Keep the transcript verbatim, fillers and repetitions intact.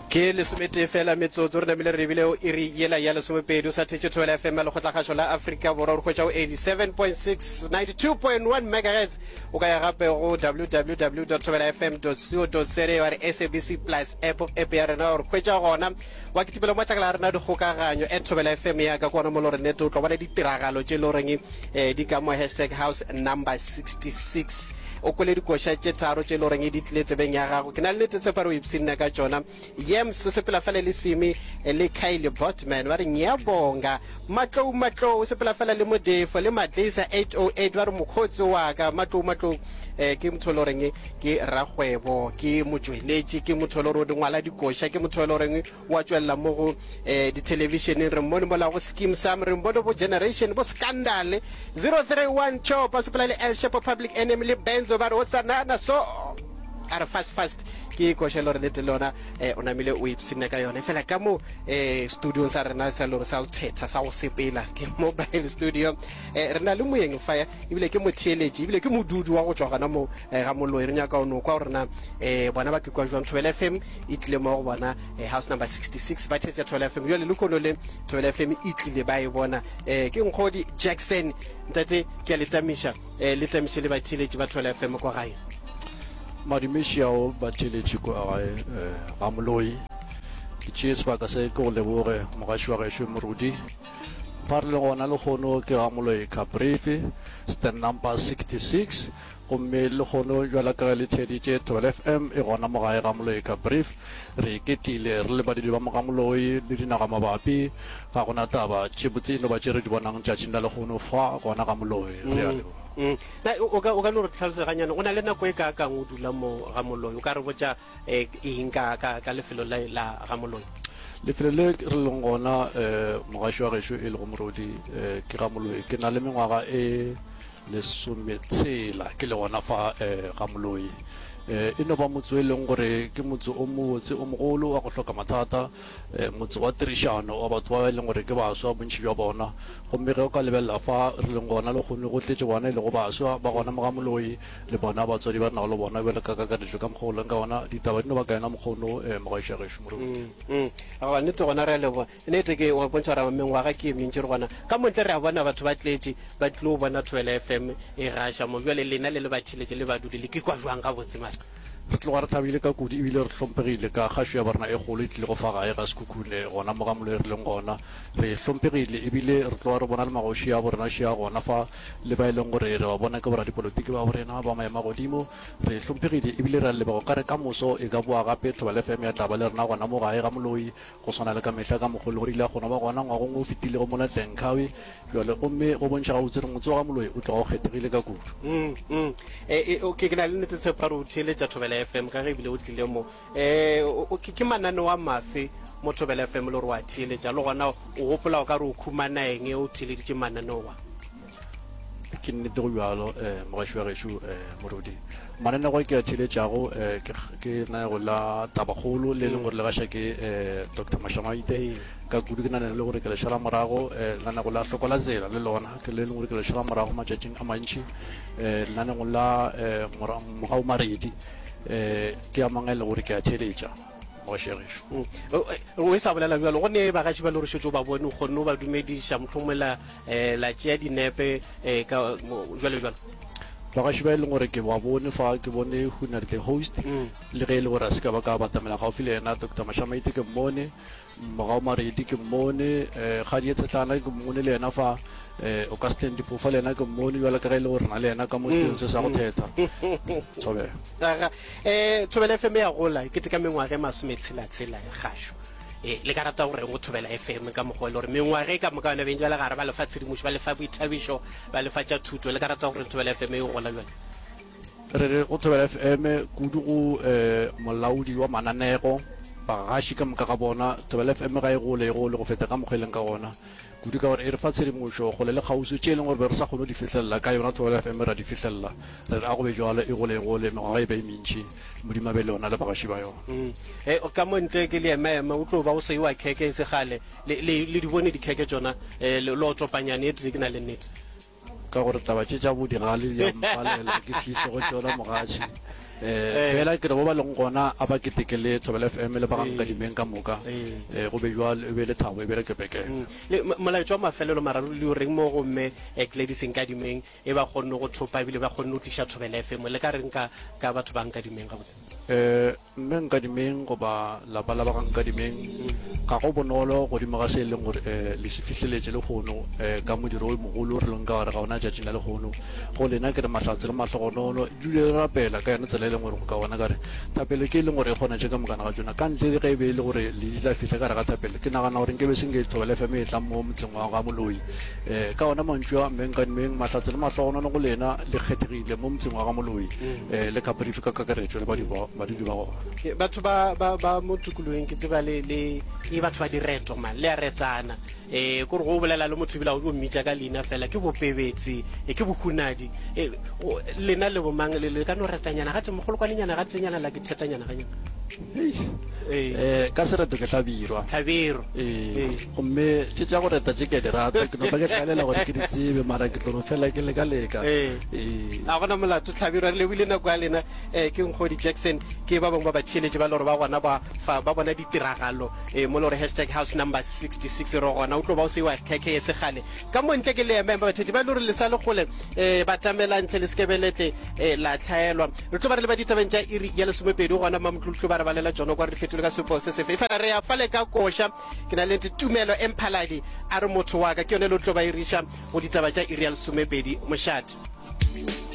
Ke lesometee fela metsotso re namile re lebile go iri yela ya lesomepedi. O sa thetše Thobela F M ya Lekgotlakgašo la Afrika Borwa, o re hwetša go eighty seven point six, ninety two point one megahertz. O ka ya gape go W W W dot thobela F M dot co dot za wa re S A B C plus app, app ya rena wa re hwetša gona. Wa kitimela mo matlakala a rena a dikgokaganyo at Thobela F M ya ka ke gona mo le gore nete o tlo bona ditiragalo tše e le goreng eh, di ka mo hashtag house number sixty six. O kwele dikoša tše tharo tše e le goreng di tlile tsebeng ya gago. Ke na le nete tshepo ya gore o ipshinne ka tšona. Yams o sepela fela le Simi le Kylie Botman ba re ngiyabonga. Matlou Matlou o sepela fela le Modefo le Madlisa eight oh eight ba re mokgotsi wa ka. Matlou Matlou eh, ke motho e le goreng ke rakgwebo, ke motšweletši, ke motho e le gore o di ngwala dikoša, ke motho e le goreng wa tšwelela mo go eh, dithelebišeneng. Re mmone mola go Skeem Saam, re mmone bo Generation, bo Scandal. Zero three one Chop o sepela le El Shepo, Public Enemy le Benzo ba re o tsanana so a re fast fast ke koša e le gore nete le yona eh, o namile o ipshinne ka yone. Fela ka mo eh, studiong sa rena sa lore sa go thetha sa go sepela ke mobile studio eh, re na le moyeng fa ebile ke motheeletši ebile ke modudi wa go tšwa gona mo eh, ga Moloi. Re nyaka go no kwa gore na eh, bona ba ke kwa jwang Thobela F M e tlile mo go bona eh, house number sixty six ba thetša Thobela F M jwale lekono le Thobela F M e tlile ba e bona eh, ke Nkgodi Jackson. Ntate ke a le tamiša eh, le tamiše le batheeletši ba Thobela F M kwa gae. Madumeši ao batheeletši kwa gae eh, ga Moloi. Ke tšee sebaka se ke go leboge mogaši wa gešo Morudi. Fa re le gona lehono ke ga Moloi Caprivi, stand number sixty six. Gomme lehono bjala ka ge le theeditše Thobela F M e gona mo gae ga Moloi Caprivi. Re iketlile re le badudi ba mo ga Moloi le dinaga mabapi. Ga gona taba tše botse e no ba tše re di bonang tšatšing la lehono fa gona ga Moloi. Re a leboga. Mm. Na o ka o ka no re tlhalosetša ganyane o na le nako e kaakang o dula mo ga Moloi? O ka re botša eh, eng ka ka ka lefelo le la ga Moloi? Lefelo le re leng gona eh, mogaši wa gešo e lego Morodi eh, ke ga Moloi. Ke na le mengwaga e lesometshela ke le gona fa eh, ga Moloi. Eh, e no ba motse o e leng gore ke motse o mobotse o mogolo wa go hloka mathata, eh, motse wa tirišano wa batho ba e leng gore ke baswa bontši bja bona. Gomme ge o ka lebelela fa re leng gona lehono go tletše bona e lego baswa ba gona mo ga Moloi le bona batswadi ba re nago le bona bjalo ka kakaretšo ka mokgwa o leng ka gona ditaba di no ba ka yona mokgwa ono eh, mogaši wa gešo Moruti. Mm, mm. Aowa, nnete gona re a leboga. Nnete ke wa bontšha gore mengwaga ke e mentši re gona. Ka mo ntle re a bona batho ba tletše ba tlilo bona Thobela F M e gaša mo. Bjale lena le le batheeletši le badudi le kikwa jwang gabotse mara? Re tloga re thabile ka kudu ebile re hlomphegile ka kgašo ya borena e kgolo e tlilego fa gae ga Sekhukhune gona mo ga Moloi re leng gona. Re hlomphegile ebile re tloga re bona le magoši a borena šea gona fa le ba e leng gore re ba bona ke boradipolotiki ba borena ba maemo a godimo. Re hlomphegile ebile re a leboga. O ka re ka moso e ka boa gape Thobela F M ya tla ba le rena gona mo gae ga Moloi go swana le ka mehla ka mokgwa o le gore ile a kgona ba gona ngwagong o fetilego mola Tlenkhawi bjale gomme go bontšha gabotse gore motse wa ga Moloi o tloga o kgethegile ka kudu. Mm, mm. E, e, okay, ke na le nnete tshepo ya gore o theeletša Thobela F M ka ge ebile o tlile mo. E, o, o, ke, ke mananeo a mafe mo Thobela F M le gore o a theeletša le gona o gopola o ka re o khumana eng o theeleditše mananeo a? Ke nnete go bjalo, eh, mogaši wa gešo, eh, Morudi. Mananeo a ke a theeletšago, eh, ke, ke lenanego la Tabakgolo le e leng gore le gaša ke, eh, Doctor Mashamaite. Ka kudu ke nagana le gore ke le šala morago, eh, lenanego la Hloko la Tsela le lona ke le leng gore ke le šala morago matšatšing a mantši. Eh, lenanego la, eh, Mora, Mogau Maredi, eh, ke a mangwe a e lego gore ke a theeletša, mogaši wa gešo. Mm. O, o e sa bolela bjalo, go ne bagaši ba le gore šetše o ba bone, o kgonne o ba dumediša, mohlomongwe la, eh, la tšea dinepe, eh, ka, mo, jwalo jwalo. Bagaši ba e leng gore ke ba bone fa, ke bone Hunadi the host, Mm. le ge e le gore a se ka ba ka batamela gaufi le yena, Doctor Mashamaite ke mmone, Mogau Maredi ke mmone, eh, Kgadie Tshetlana ke mmone le yena fa, eh, Augustine Diphofa le yena ke mmone, bjalo ka ge e le gore re na le yena ka mo setilong se sa go thetha. Thobela. Aga, eh, Thobela F M ya gola, e keteka mengwaga e masometshela-tshela ya kgašo. Eh, le ka rata go reng go Thobela F M ka mokgwa e le gore mengwaga e ka moka yona beng ba le gare ba le fa tshedimošo, ba le fa boithabišo, ba le fa tša thuto, le ka rata go reng Thobela F M e gola bjale? Re re go Thobela F M kudu go eh, molaodi wa mananego, bagaši ka moka ga bona. Thobela F M ga e gole, e gole go feta ka mokgwa e leng ka gona, kudu ka gore e re fa tshedimošo kgole le kgauswi tše e leng gore be re sa kgone go di fihlelela ka yona Thobela F M ra di fihlelela. Re re a go be bjalo, e gole e gole, mengwaga e be e mentši, Modimo a be le yona le bagaši ba yona. Mm. E, ka mo ntle ke leemaema, o tlo ba o seiwa kheke e se kgale. Le, le, le di bone dikheke tšona, e, le, le otopanyane e tee ke na le nnete. Ka gore taba tše tša bo digale di a mpalela, ke fihle go tšona mogatši. Eh, fela ke re bo ba leng gona a ba keteke le Thobela F M le ba ga Nkadimeng ka moka. Eh, go be bjalo, e be lethabo, e be lekepekene. Mm. Le molaetša wa mafelelo mararo le o reng mo go mme Gladys Nkadimeng e ba kgonne go thopa ebile ba kgonne go tliša Thobela F M, le ka reng ka ka batho ba Nkadimeng gabotse? Eh, mme Nkadimeng goba lapa la ba ga Nkadimeng, ga go bonolo godimo ga se e leng gore eh, le se fihleletše lehono eh, ka modiro o mogolo re leng ka gare ga ona tšatšing la lehono. Go lena ke re mahlatse le mahlogonono, dule le rapela ka yona tsela e leng gore go ka gona ka re thapelo ke e leng gore e kgona tše ka mokana ga tšona. Ka ntle le ge e be e le gore le tla fihla ka gare ga thapelo, ke nagana gore nke be se nke Thobela F M e tla mo motseng wa ga Moloi. Eh, ka ona mantšu a mme Nkadimeng, mahlatse le mahlogonono go lena, le kgethegile mo motseng wa ga Moloi eh, le Caprivi ka kakaretšo le badudi ba gona. Batho ba ba ba mo tikologong ke tseba le le ke batho ba direto man, le a retana. Eh, kore go bolela le motho ebile o mmitša ka leina fela, ke bopebetse, eh, ke bohunadi. Eh, lena le bomang le le ka no retanyana gate mogolokwanenyana gatenyana la ke thetanyana ganyana. Eh, ka sereto ke Hlabirwa. Hlabirwa. Eh, gomme tše tša go reta tše ke a di rata, ke no ba ke hlaelela gore ke di tsebe, mara ke tlo no fela ke leka leka. Eh. A gona molato Hlabirwa, re lebile nako ya lena. Eh, ke Nkgodi Jackson, ke ba bangwe ba batheeletši ba le gore ba gona ba fa ba bona ditiragalo eh, mo le gore hashtag house number sixty-six re gona o tlo ba o seiwa khekhe e segale ka mo ntle ke le ema ema batheetši ba le gore le sa le kgole eh, ba tlamela ntle le sekebeletle eh, la tlhaelwa. Re tlo ba re le ba ditabeng tša iri ya lesomepedi gona Mamotlutlu ba re balela tšona kwa re di fetole ka sepo se sefe. Efela re ya fale ka koša, ke na le Tumelo Emphaladi a re motho wa ka ke yone le tlo ba iriša go ditaba tša iri ya lesomepedi. Mošate.